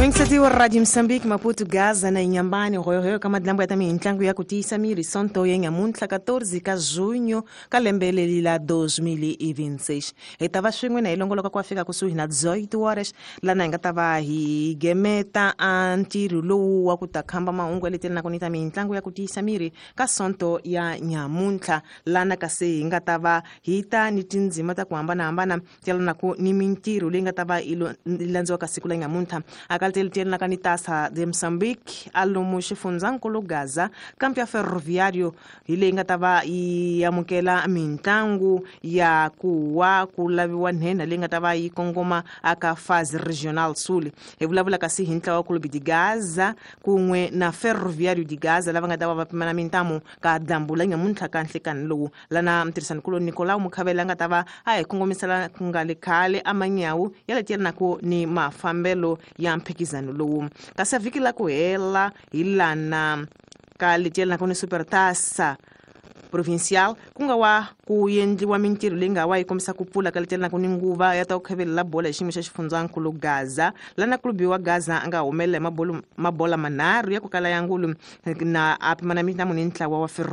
Mingiseti wa Radio Moçambique, Maputo, Gaza na Inhambane, Royo ka madlambo ya ta mintlangu ya ku tiyisa miri Sonto ya nyamuntlha 14 ka junho ka lembe leri la 2026. Hi ta va swin'we na hi longoloka ku fika kusuhi na 18 horas lana hi nga ta va hi gemeta a ntirho lowu wa ku ta khamba mahungu ya leti na ku ni ta mintlangu ya ku tiyisa miri ka Sonto ya nyamuntlha lana kasi hi nga ta va hi ta ni tindzima ta ku hambanahambana ti yelanaka ni mintirho leyi nga ta va yi landziwaka siku la nyamuntlha akaliteli tiyelanaka ni Taça de Moçambique alomu xifundzankulu Gaza kampo ya Ferroviário hi leyi nga ta va yi amukela mitlangu ya ku wa ku laviwa nhenha leyi nga ta va yi kongoma aka fase regional sul. Hi vulavula kasi hi ntlawa wa Clube de Gaza kun'we na Ferroviário de Gaza lava nga ta va va pimana mintamu ka dyambu la nyamuntlha ka nhlekani lowu lana mtirhisaninkulu Nicolau Mukhavela a nga ta va a hi kongomisela ku nga le khale a manyawu ya leti yelanaka ni mafambelo ya mphikizano lowu. Kasi vhiki la ku hela hi lana ka leti yelanaka ni Supertaça Provincial ku nga wa ku endliwa mintirho leyi nga wa yi kombisa ku pfula ka leti yelanaka ni nguva ya ta ku khavelela bola hi xiyimo xa xifundzankulu Gaza lana klubi wa Gaza a nga humelela hi mabola manharhu ya ku kala ya ngulu na a pimana mintamu ni ntlawa wa